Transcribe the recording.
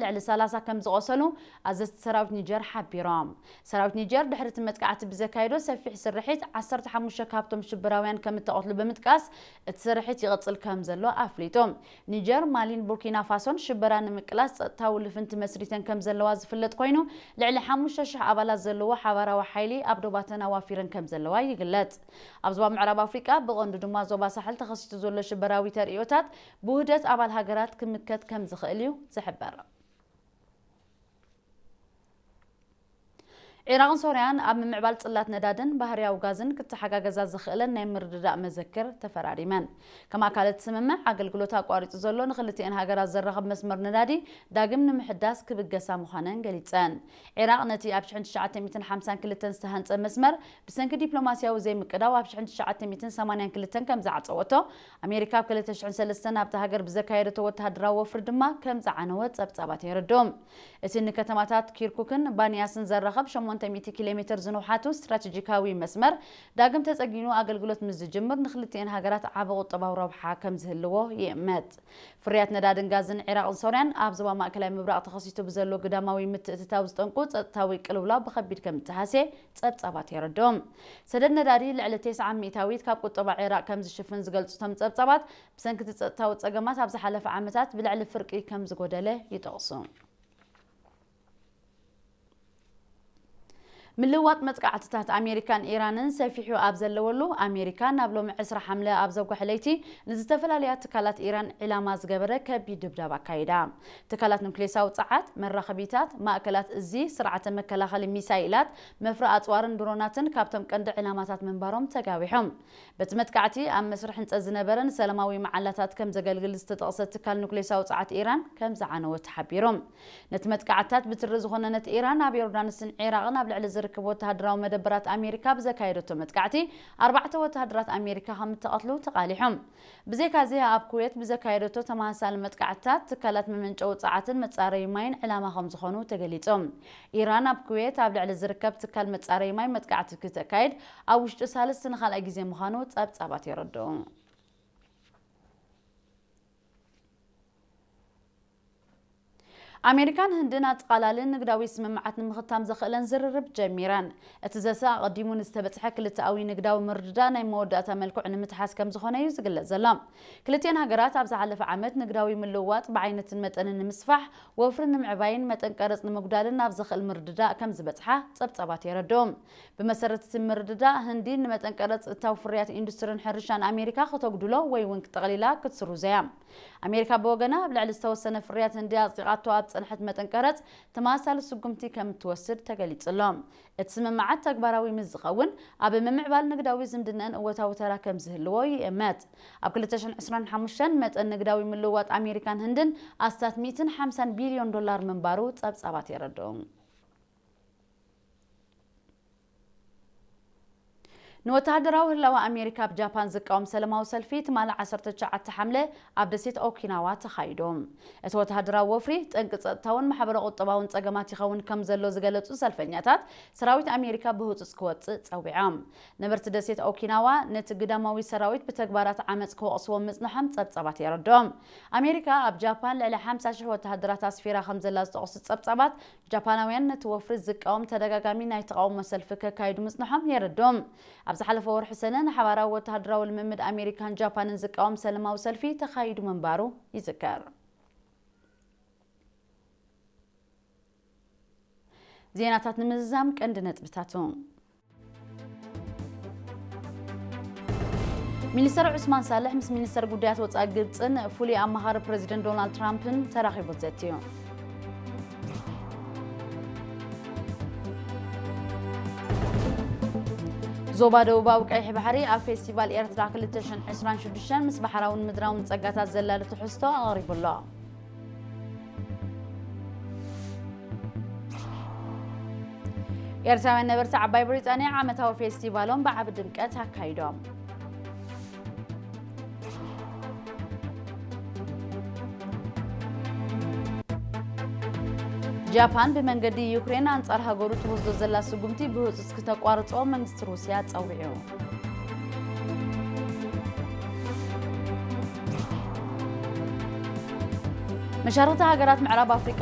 ልዕሊ ሰላሳ ከም ዝቖሰሉ ኣዘዝቲ ሰራዊት ኒጀር ሓቢሮም። ሰራዊት ኒጀር ድሕሪ እቲ መጥቃዕቲ ብዘካየዶ ሰፊሕ ስርሒት ዓሰርተ ሓሙሽተ ካብቶም ሽበራውያን ከም እተቐትሉ ብምጥቃስ፣ እቲ ስርሒት ይቕጽል ከም ዘሎ ኣፍሊጡ። ኒጀር፣ ማሊን ቡርኪና ፋሶን ሽበራ ንምቅላስ ጸጥታዊ ልፍንቲ መስሪተን ከም ዘለዋ ዝፍለጥ ኮይኑ፣ ልዕሊ ሓሙሽተ ሽሕ ኣባላት ዘለዎ ሓባራዊ ሓይሊ ኣብ ዶባተን ኣዋፊረን ከም ዘለዋ ይግለጽ። ኣብ ዞባ ምዕራብ ኣፍሪቃ፣ ብቐንዱ ድማ ዞባ ሳሕል ተኸሲቱ ዘሎ ሽበራዊ ተርእዮታት ብውህደት ኣባል ሃገራት ክምከት ከም ዝኽእል እዩ ዝሕበር። ዒራቕን ሶርያን ኣብ ምምዕባል ጽላት ነዳድን ባህርያዊ ጋዝን ክተሓጋገዛ ዝኽእለን ናይ ምርድዳእ መዘክር ተፈራሪመን። ከም ኣካል እቲ ስምምዕ፣ ኣገልግሎት ኣቋሪጹ ዘሎ ንኽልቲኤን ሃገራት ዘራኽብ መስመር ነዳዲ ዳግም ንምሕዳስ ክብገሳ ምዃነን ገሊጸን። ዒራቕ ነቲ ኣብ ሽሕን ትሽዓተ ሚእትን ሓምሳን ክልተን ዝተሃንጸ መስመር ብሰንኪ ዲፕሎማስያዊ ዘይምቅዳው ኣብ ሽሕን ትሽዓተ ሚእትን ሰማንያን ክልተን ከም ዝዓጸወቶ፣ ኣሜሪካ ኣብ ክልተ ሽሕን ሰለስተን ኣብታ ሃገር ብዘካየደቶ ወተሃደራዊ ወፍሪ ድማ ከም ዝዓነወ ጸብጻባት የረድኡ። እቲ ንከተማታት ኪርኩክን ባንያስን ዘራኽብ ሸሞንተ ሚእቲ ኪሎ ሜትር ዝንውሓቱ ስትራቴጂካዊ መስመር ዳግም ተጸጊኑ ኣገልግሎት ምስ ዝጅምር፣ ንኽልቲኤን ሃገራት ዓቢ ቁጠባዊ ረብሓ ከም ዝህልዎ ይእመት። ፍርያት ነዳድን ጋዝን ዒራቕን ሶርያን ኣብ ዞባ ማእከላይ ምብራቕ ተኸሲቱ ብዘሎ ግዳማዊ ምትእትታው ዝጠንቁ ጸጥታዊ ቅልውላው ብኸቢድ ከም እተሃስየ ጸብጻባት የረድኡ። ሰደድ ነዳዲ ልዕሊ ተስዓ ሚእታዊት ካብ ቁጠባ ዒራቕ ከም ዝሽፍን ዝገልጹ እቶም ጸብጻባት፣ ብሰንኪ እቲ ጸጥታዊ ጸገማት ኣብ ዝሓለፈ ዓመታት ብልዕሊ ፍርቂ ከም ዝጎደለ ይጠቕሱ። ምልውዋጥ መጥቃዕትታት ኣሜሪካን ኢራንን ሰፊሑ ኣብ ዘለወሉ፣ ኣሜሪካ ናብ ሎሚ ዕስራ ሓምለ ኣብ ዘጉሐ ለይቲ ንዝተፈላለያ ትካላት ኢራን ዒላማ ዝገበረ ከቢድ ድብዳብ ኣካይዳ። ትካላት ኑክሌሳዊ ጸዓት፣ መራኸቢታት፣ ማእከላት እዚ፣ ስርዓተ መከላኸሊ ሚሳይላት፣ መፍረ ኣጽዋርን ድሮናትን ካብቶም ቀንዲ ዒላማታት ምንባሮም ተጋዊሖም። በቲ መጥቃዕቲ ኣብ መስርሕ ህንጸት ዝነበረ ንሰላማዊ መዓላታት ከም ዘገልግል ዝተጠቕሰ ትካል ኑክሌሳዊ ጸዓት ኢራን ከም ዝዓነወ ተሓቢሩ። ነቲ መጥቃዕትታት ብትሪ ዝኾነነት ኢራን፣ ኣብ ዮርዳኖስን ዒራቕን ኣብ ልዕሊ ዝርከቡ ወተሃደራዊ መደበራት ኣሜሪካ ብዘካየደቶ መጥቃዕቲ፣ ኣርባዕተ ወተሃደራት ኣሜሪካ ከም እተቐትሉ ተቓሊሖም። ብዘይካዚ፣ ኣብ ኩዌት ብዘካየደቶ ተመሳሳሊ መጥቃዕትታት፣ ትካላት መመንጨዊ ጸዓትን መጻረዪ ማይን ዕላማ ከም ዝኾኑ ተገሊጾም። ኢራን ኣብ ኩዌት ኣብ ልዕሊ ዝርከብ ትካል መጻረዪ ማይ መጥቃዕቲ ክተካይድ ኣብ ውሽጢ ሳልስቲ ንኻልኣይ ግዜ ምዃኑ ጸብጻባት የረድኡ። ኣሜሪካን ህንድን ኣጠቓላሊ ንግዳዊ ስምምዓት ንምኽታም ዘኽእለን ዝርርብ ጀሚረን። እቲ ዘተ ኣቐዲሙ ንዝተበጽሐ ክልተኣዊ ንግዳዊ ምርድዳእ ናይ መወዳእታ መልክዑ ንምትሓዝ ከም ዝኾነ እዩ ዝግለጽ ዘሎ። ክልቲኤን ሃገራት ኣብ ዝሓለፈ ዓመት ንግዳዊ ምልውዋጥ ብዓይነትን መጠንን ንምስፋሕ፣ ወፍሪ ንምዕባይን መጠን ቀረጽ ንምጉዳልን ኣብ ዘኽእል ምርድዳእ ከም ዝበጽሓ ጸብጻባት የረድኡ። ብመሰረት እቲ ምርድዳእ፣ ህንዲ ንመጠን ቀረጽ እታው ፍርያት ኢንዱስትሪን ሕርሻን ኣሜሪካ ከተጉድሎ ወይ እውን ጠቕሊላ ክትስርዞ እያ። ኣሜሪካ ብወገና፣ ኣብ ልዕሊ ዝተወሰነ ፍርያት ህንዲ ኣጽዲቓቶ ኣብ ዝጸንሐት መጠን ቀረጽ ተመሳሳሊ ስጉምቲ ከም እትወስድ ተገሊጹ ኣሎ። እቲ ስምምዓት ተግባራዊ ምስ ዝኸውን፣ ኣብ ምምዕባል ንግዳዊ ዝምድናን እወታዊ ተራ ከም ዝህልዎ ይእመት። ኣብ ክልተ ሽሕን ዕስራን ሓሙሽተን መጠን ንግዳዊ ምልውዋጥ ኣሜሪካን ህንድን ኣስታት ሚእትን ሓምሳን ቢልዮን ዶላር ምንባሩ ጸብጻባት የረድኡ። ንወተሃደራዊ ህላወ ኣሜሪካ ኣብ ጃፓን ዝቃወም ሰላማዊ ሰልፊ ትማሊ ዓሰርተ ትሽዓተ ሓምለ ኣብ ደሴት ኦኪናዋ ተኻይዱ። እቲ ወተሃደራዊ ወፍሪ ጠንቂ ጸጥታውን ማሕበረ ቁጠባውን ጸገማት ይኸውን ከም ዘሎ ዝገለጹ ሰልፈኛታት፣ ሰራዊት ኣሜሪካ ብህጹጽ ክወጽእ ጸዊዖም። ነበርቲ ደሴት ኦኪናዋ ነቲ ግዳማዊ ሰራዊት ብተግባራት ዓመጽ ክወቕስዎ ምጽንሖም ጸብጻባት የረድኦም። ኣሜሪካ ኣብ ጃፓን ልዕሊ ሓምሳ ሽሕ ወተሃደራት ኣስፊራ ከም ዘላ ዝጠቕሱ ጸብጻባት፣ ጃፓናውያን ነቲ ወፍሪ ዝቃወም ተደጋጋሚ ናይ ተቓውሞ ሰልፊ ከካይዱ ምጽንሖም የረድኦም። ኣብ ዝሓለፈ ወርሒ ሰነ ንሓባራዊ ወተሃደራዊ ልምምድ ኣሜሪካን ጃፓንን ዝቃወም ሰላማዊ ሰልፊ ተኻይዱ ምንባሩ ይዝከር። ዜናታት ንምዝዛም ቀንዲ ነጥብታቱ። ሚኒስተር ዑስማን ሳልሕ ምስ ሚኒስተር ጉዳያት ወጻኢ ግብጽን ፍሉይ ኣማኻሪ ፕረዚደንት ዶናልድ ትራምፕን ተራኺቡ ዘትዩ። ዞባ ደቡባዊ ቀይሕ ባሕሪ ኣብ ፌስቲቫል ኤርትራ ክልተ ሽሕን ዕስራን ሽዱሽተን ምስ ባሕራውን ምድራውን ጸጋታት ዘላሊ ትሕዝቶ ኣቕሪቡ ኣሎ። ኤርትራውያን ነበርቲ ዓባይ ብሪጣንያ ዓመታዊ ፌስቲቫሎም ብዓቢ ድምቀት ኣካይዶም። ጃፓን ብመንገዲ ዩክሬን ኣንጻር ሃገሩ ትወስዶ ዘላ ስጉምቲ ብህጹጽ ክተቋርጾ መንግስቲ ሩስያ ጸዊዑ። መሻርኽቲ ሃገራት ምዕራብ ኣፍሪቃ